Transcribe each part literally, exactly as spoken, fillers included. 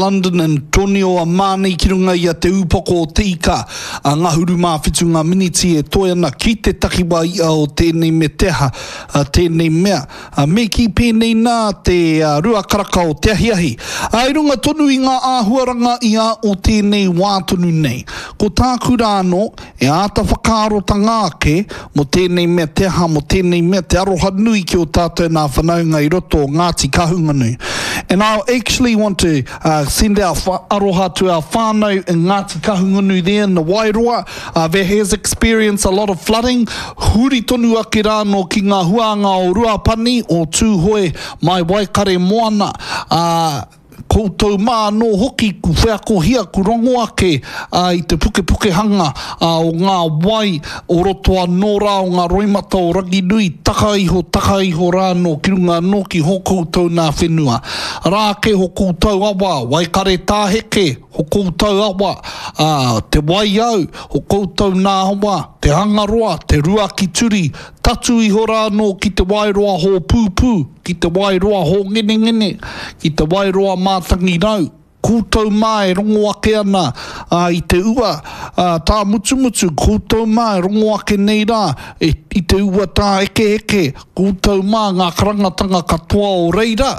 London Antonio Armani ki runga i a Te Ūpoko o Te Ika a Ngahuru mā whitu ngā miniti e toe ana ki te takiwā ia o tēnei me te aha, a tēnei mea. A me kī pēnei nā te a, rua karaka o te ahiahi. A, i runga tonu i ngā āhuaranga ia o tēnei wā tonu nei. Ko tāku rā anō, e āta whakaarotanga ake mō tēnei mea te aha, mō tēnei mea te aroha nui ki o tātou nā whanaunga i roto o Ngāti Kahungunu. And I actually want to uh, send our aroha to our whānau in Ngāti Kahungunu there in the Wairoa uh, that has experienced a lot of flooding. Huri tonu ake rānō ki ngā huānga o Ruapani, o Tūhoe, mai Waikare Moana. Uh, koutou mā anō hoki ku wheakohia, ku rongo ake uh, i te pukepukehanga uh, o ngā wai o roto anō rā o ngā roimata o Ranginui, taka iho, taka iho rā anō ki runga anō ki ho koutou nā whenua. Rā ake ho koutou awa, Waikare tāheke, ho koutou awa, uh, te Waiau, ho koutou nā awa, te Hangaroa, te Ruakituri, tatu iho rā anō ki te Wairoa hōpūpū, ki te Wairoa hōngenengene, ki te Wairoa mātangi rau, koutou mā e rongo ake ana uh, i te ua uh, tā mutumutu, koutou mā e rongo ake nei rā e, i te ua tā eke eke, koutou mā ngā karangatanga katoa o reira,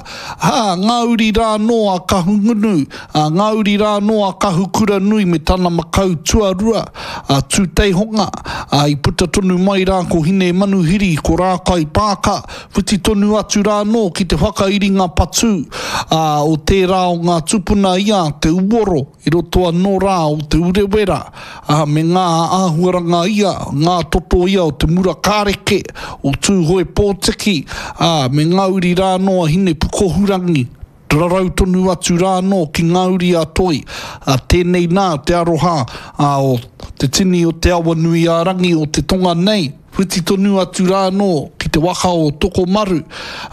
ha, ngā uri rā anō a Kahungunu, a ngā uri rā anō a Kahukura nui me tana makau tuarua, a Tūteihonga, a i puta tonu mai rā ko Hine Manuhiri, ko Rākai Pāka, whiti tonu atu rā anō ki te whakairinga patū a, o tērā o ngā tupuna ia te uoro i roto anō rā o Te Urewera, a, me ngā āhuaranga ia, ngā toto ia o te mura kāreke, o Tūhoe Pōtiki, a, me ngā uri rā anō a Hine Pukohurangi, rarau tonu atu rā anō ki ngā uri a Toi, a, tēnei nā te aroha a, o te tini o te awa nui a Rangi o te tonga nei, whiti tonu atu rā anō ki te waka o Tokomaru,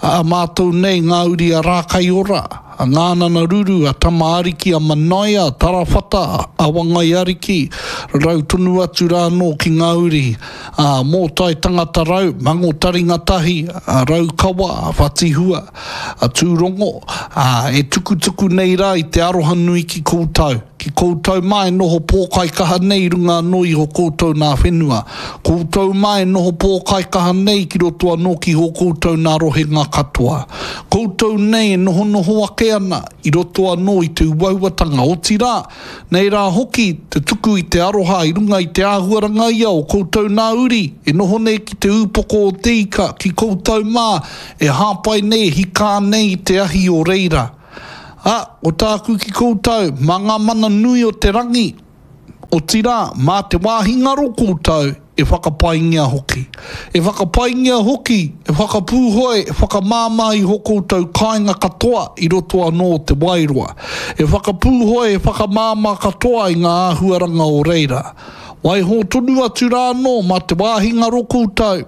a mātou nei ngā uri a Rākaiora, a Ngānana Ruru, a Tama Ariki, a Manaia, a Tarawhata, a Wangai Ariki, rarau tonu atu rā anō ki ngā uri, a Mōtai Tangata Rau, Mango Taringa Tahi, a Raukawa, a Whatihua, a Tūrongo, a, e tukutuku nei rā i te aroha nui ki koutou. Ki koutou mā e noho pōkaikaha nei i runga anō i ho koutou nā whenua. Koutou mā e noho pōkaikaha nei ki roto anō ki ho koutou nā rohenga katoa. Koutou nei e nohonoho ake ana i roto anō i te uauatanga. Otirā, nei rā hoki te tuku i te aroha i runga i te āhuaranga ia o koutou nā uri e noho nei ki te ūpoko o te ika ki koutou mā e hāpai nei, hikā nei i te ahi o reira. A, o tāku ki koutou, mā ngā mana nui o te rangi, otirā, mā te wāhi ngaro koutou e whakapaingia hoki. E whakapaingia hoki, e whakapūhoi, e whakamāmā i ho koutou kāinga katoa i roto anō o te Wairoa. E whakapūhoi, e whakamāmā katoa i ngā āhuaranga o reira. Waiho tonu atu rā anō mā te wāhi ngaro koutou.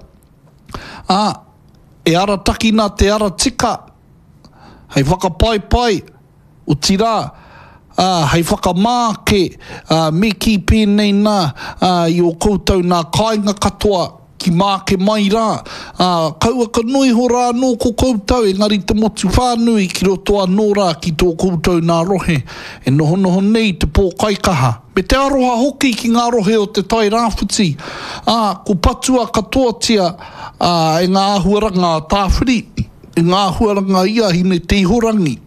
A, e aratakina te ara tika, hei whakapaipai, otirā, ā, hei whakamā ake, ā, me kī pēnei nā, ā, i ō koutou nā kāinga katoa ki māke mai rā, ā, kaua ka noa iho rā anō ko koutou, engari te motu whānui ki roto anō rā ki tō koutou nā rohe, e nohonoho nei te pōkaikaha, me te aroha hoki ki ngā rohe o Te Tai Rāwhiti, ā, ko patua katoatia, ā, e ngā āhuaranga a Tāwhiri, e ngā āhuaranga ia Hine Te Ihorangi.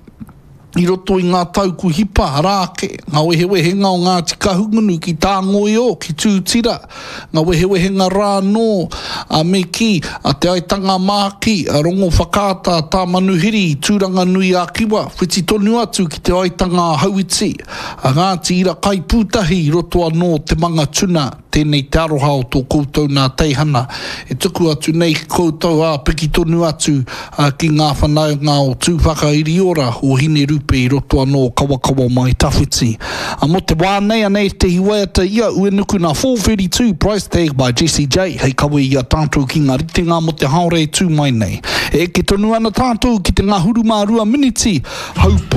I roto i ngā tau ku hipa, arā ake, ngā wehewehenga o Ngāti Kahungunu ki Tāngoio, ki Tūtira, ngā wehewehenga rā anō, a me kī, a Te Aitanga-a-Māhaki, a Rongowhakaata, a Tāmanuhiri i Tūranganui-a-Kiwa, whiti tonu atu ki Te Aitanga-a-Hauiti, a Ngāti Irakaipūtahi i roto anō o Te Mangatuna. Tēnei te aroha o tō koutou nā teihana e tuku atu nei ki koutou, ā, piki tonu atu ki ngā whanaunga o Tūwhakairiora, o Hinerupe i roto anō o Kawakawa mai Tawhiti. Ā, mō te wā nei, anei tētehi waiata i a Uenuku nā Four Thirty Two Price Tag by Jessie J hei kawe i a tātou ki ngā ritenga mō te haora e tū mai nei. E eke tonu ana tātou ki te ngahuru mā rua miniti, haupū.